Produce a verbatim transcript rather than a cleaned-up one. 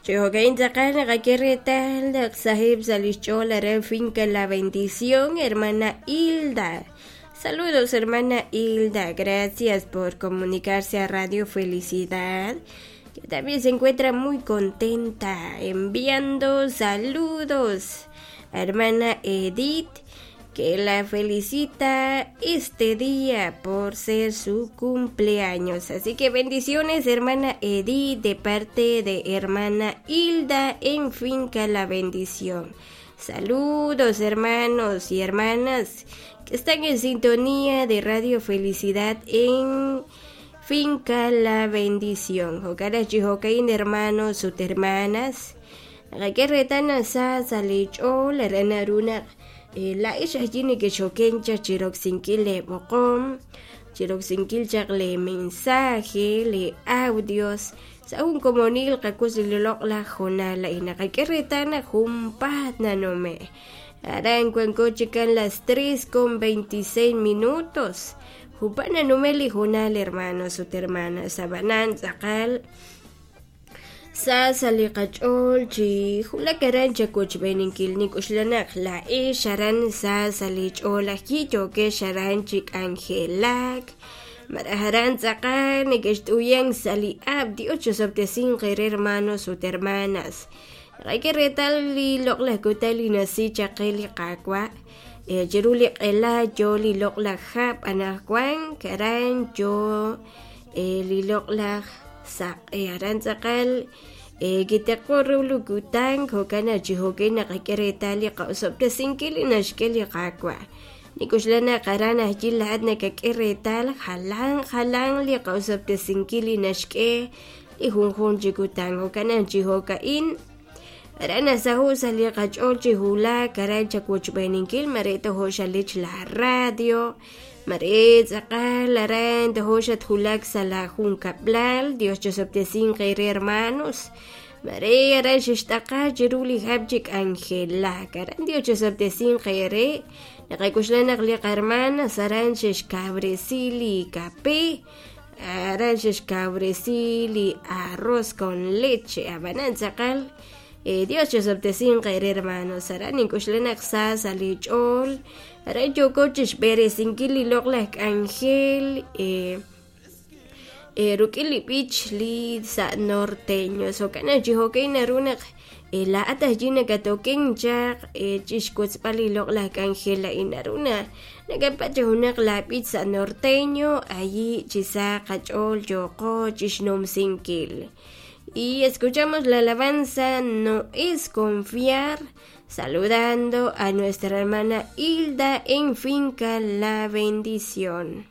Chi jo'ka'in tz'aqal naqak'e reetal naq saheb' sa' lix ch'ool aran Finca La Bendición, hermana Hilda. Saludos, hermana Hilda, gracias por comunicarse a Radio Felicidad, que también se encuentra muy contenta enviando saludos a hermana Edith, que la felicita este día por ser su cumpleaños. Así que bendiciones, hermana Edith, de parte de hermana Hilda en Finca La Bendición. Saludos, hermanos y hermanas que están en sintonía de Radio Felicidad en Finca La Bendición. Jo'kan chi jo'ka'in hermanos ut hermanas. Naqak'e reetal naq sa sa' li ch'ool aran naru naq laa'ex ajwi' nekexoken chaq chiroksinkil le b'oqom, chiroksinkil chaq le mensaje, le audios sa' jun komonil qakus li loq'laj hoonal a'in naqak'e reetal naq junpaat nanume'. Aran wanko chikan las tres con veintiséis minutos. Junpaat nanume' li hoonal, hermanos ut hermanas, ab'anan tz'aqal sa sa' li qach'ool chi wulak aran chawochb'eeninkil nik'uxlanaq laa'ex aran sa sa' li ch'ool ajwi' yookex aran chi k'anjelak maraj aran tz'aqal nekext'uyan sa' li ab' Dios chosob'tesinq eere hermanos ut hermanas. Naqak'e reetal li loq'laj kutan li nasi chaq qe li Qaawa' chiru li q'ela yo li loq'laj hab' anaqwan aran yo li loq'laj saq'e aran tz'aqal kiteqo ru li kutan jo'kan naq chi jo'kan naqak'e reetal li qa'osob'tesinkil li naxk'e li Qaawa'. Nik'uxlan naq aran ajwi' laa'at nakak'e reetal jalan jalan li qa'osob'tesinkil li naxk'e li junjunq chi kutan jo'kan naq chi jo'ka'in aran nasaho' sa' li qach'ool chi wulak aran chawochb'eeninkil mare tojo' xalich la radio mare tz'aqal aran tojo' xatwulak sa' la junkab'lal Dios chosob'tesinq eere hermanos mare aran xixt'aqa chiru li hab' chi k'anjelak aran Dios chosob'tesinq eere naqak'uxlan naq li qarmanas aran xexkabresi li kape aran xexkabresi li arroz con leche ab'anan tz'aqal Dios chosob'tesinq eere hermanos aran nink'uxlan naq sa sa' li ch'ool aran yooko chixb'eresinkil li loq'laj k'anjel ruk'in li b'ich li sa' norteño jo'kan naq chi jo'kan naru naq laa'at ajwi' nakatoken chaq chixwotzb'al li loq'laj k'anjel a'in naru na nakapatz' junaq la b'ich sa' norteño allí chi sa qach'ool yooqo chixnumsinkil. Y escuchamos la alabanza No es confiar, saludando a nuestra hermana Hilda en Finca La Bendición.